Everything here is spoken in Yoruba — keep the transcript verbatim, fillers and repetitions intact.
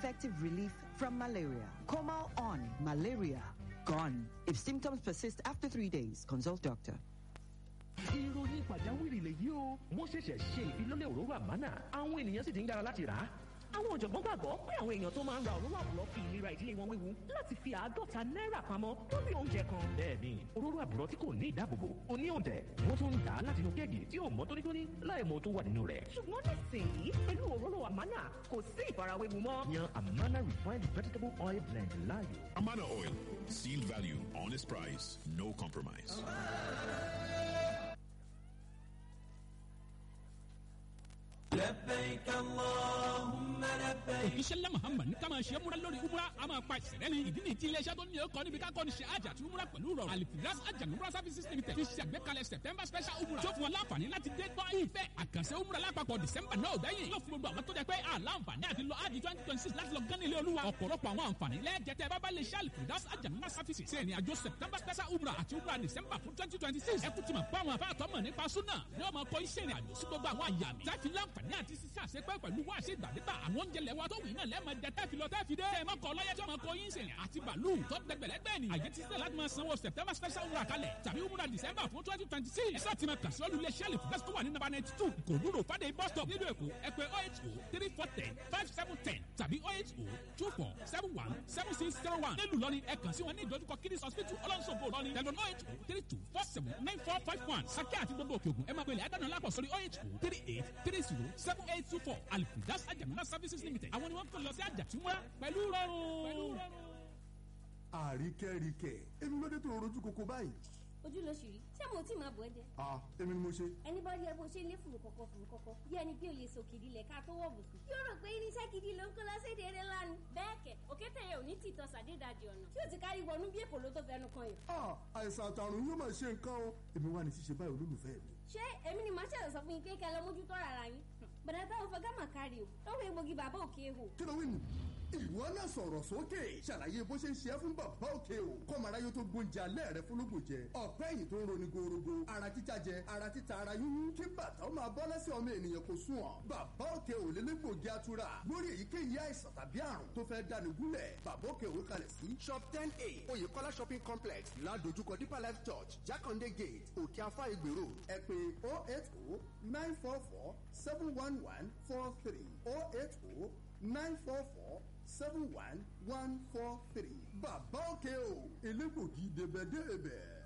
effective relief from malaria. Comal on malaria gone. If symptoms persist after three days, consult doctor. Ìròyìn pàjáwìrì lèyí o. Wọ́n ṣẹ̀ṣẹ̀ ṣe ìfilọ́lẹ̀ òróró Àmánà, àwọn ènìyàn sì ti ń dára láti rà á. Àwọn ọ̀jọ̀gbọ́n gbàgbọ́ pé àwọn èèyàn tó máa ń ra òróró àbùrọ̀ fi ìlera ìdílé wọn wéwu láti fi àádọ́ta náírà pamọ́ lórí oúnjẹ kan. Bẹ́ẹ̀ni, òróró àbùrọ̀ tí kò ní ìdáàbòbò ò ní òǹtẹ̀. Wọ́n tún ń tà á láti inú kẹ́ẹ̀gì tí ò mọ́ tónítóní láì mọ tó wà nínú rẹ̀. Ṣùgbọ́n nísìnyí, pẹ̀lú òróró Àmánà, kò sí ìfarawéwu mọ́. Yan Amana Refined Vegetable Oil Blend láàyò. Amana Oil. Sealed value, honest price, no compromise. لبيك اللهم لبيك. Òjíṣẹ́ ńlá Muhammad ní ká máa ṣe múra lórí umra, a máa pa ìṣẹ̀lẹ̀ ni. Ìdí nìyí tí iléeṣẹ́ tó ní ọkọ̀ níbi ká kọ́ ni ṣe àjà àti umra pẹ̀lú rọrùn, Alifiras Ajah Services Limited, ti ṣe àgbékalẹ̀ September special umra tó fún wọn láǹfààní láti dé tọ́ ìfẹ́ àkànṣe umra lápapọ̀ December náà gbẹ̀yìn. Yóò fún gbogbo àwọn tó jẹ́ pé àlàǹfààní àti lọ àjì twenty twenty six láti lọ gán nílé Olúwa ọ̀pọ̀lọpọ̀ àwọn àǹfààní lẹ́ẹ̀jẹ̀tẹ̀ bábá lè ṣe Alifiras Ajah Services ṣe ìrìn àjò September special umra àti umra December fún twenty twenty six. Ẹ kú ti mọ̀ pé àwọn afáàtọ́ mọ̀ nípa súnà ní ọmọ kọ́ iṣẹ́ ìrìn àjò sí gbogbo àwọn àyà mi láti láǹfààní àti sísá àṣepẹ́ pẹ̀lú wá ṣe ìgbàdégbà. Àwọn oúnjẹ lẹ́wà tó wù náà lẹ́ẹ̀mọ jẹ tẹ́ẹ̀fì lọ tẹ́ẹ̀fì dé. Ẹ mọ́kọ ọlọ́yẹ tí ọmọ kọ yín sìnrìn àti bàálù tó gbẹgbẹ̀lẹ́gbẹ̀ ni. Àyè ti sílẹ̀ láti máa sanwó September special umrah kalẹ̀ tàbí umrah December fún twenty twenty six. Ẹ sá ti máa kàn sí olùlé sẹ́ẹ̀lì fúdẹ́sì tó wà ní number ninety two Kòlúrò Fàdé bus stop nílùú Èkó. Ẹ pè oh eight oh three four ten five seven ten tàbí oh eight oh two four seven one seven six zero one. Nílùú Ìlọrin, ẹ kàn sí wọn ní ìdojúkọ Kiddies Hospital, Ọlọ́nṣogbo, Ìlọrin, tẹlifon oh eight oh three two four seven nine four five one. Sàkẹ́ àti gbogbo Òkè Ògùn, ẹ máa pèlè àdánù alápọ̀ sórí oh eight oh three eight three zero seven eight two four. Alifidas Ajamuna Services Limited, àwọn ni wọ́n kò lọ sí àjàtúmọ̀ pẹ̀lú rọrùn. Àríkẹ́ríkẹ́ èmi, lóde tó rojú koko báyìí? Ojú ló ṣì rí. Ṣé mo tí máa bọ̀ ẹ́ jẹ? Ah, èmi ni mo ṣe. Ẹni bá rí ẹ bó ṣe lé fùrù kọ̀kọ̀ fùrù kọ̀kọ̀ bí ẹni bí o lè sọ kìdí lẹ̀ ká tó wọ̀ bùkún, yóò rò pé irinṣẹ́ gidi ló ń kó lọ sí ìdèrè lánàá. Bẹ́ẹ̀ kẹ̀, òkété yẹn ò ní tìtọ́ sàdédàjì ọ̀nà tí ó ti kárí wọnú bí èkó ló tó fẹnu kan yàn. Ah, àìsàn àtàrùn yóò máa ṣe nǹkan o. Èmi wà ní ṣíṣe báyìí, olólùfẹ́ mi. Ṣé èmi ni màá ṣẹ̀ṣẹ̀ sọ fún yín pé kẹ́ ẹ lọ mójútó ara yín? Bàdà táwọn fọgá mà kárí o lọ́wọ́ egbògi Bàbá Òkè Ehò. Kí ló wí nù? Ìwọ náà sọ̀rọ̀ sókè, ṣàlàyé bó ṣe ń ṣe é fún Bàbá Òkè o, kọ́mọ aráyé tó gbóúnjẹ alẹ́ rẹ fúnlógún jẹ. Ọ̀pẹ́ yìí tó ń roni gorogo, ara títa jẹ, ara títa, ara yúnyún, kí bàtà ó máa bọ́ lẹ́sẹ̀ ọmọ ènìyàn kò sùn ọ̀. Bàbá Òkè ò lélẹ́gbògi atura lórí èyíkéyìí àìsàn tàbí àrùn tó fẹ́ dáni gúnlẹ̀. Bàbá Òkè ò kalẹ̀ sí Shop ten A, Oyèkọ́lá Shopping Complex, ládojúkọ Deeper Life Church, Jákàndé Gate, Òkè Afá, Ìgbèrò. Ẹ pè oh eight oh nine four four seven one one four three, oh eight oh nine four four seven one one four three. Bàbá Òkè o, elégbògi débẹ̀débẹ̀.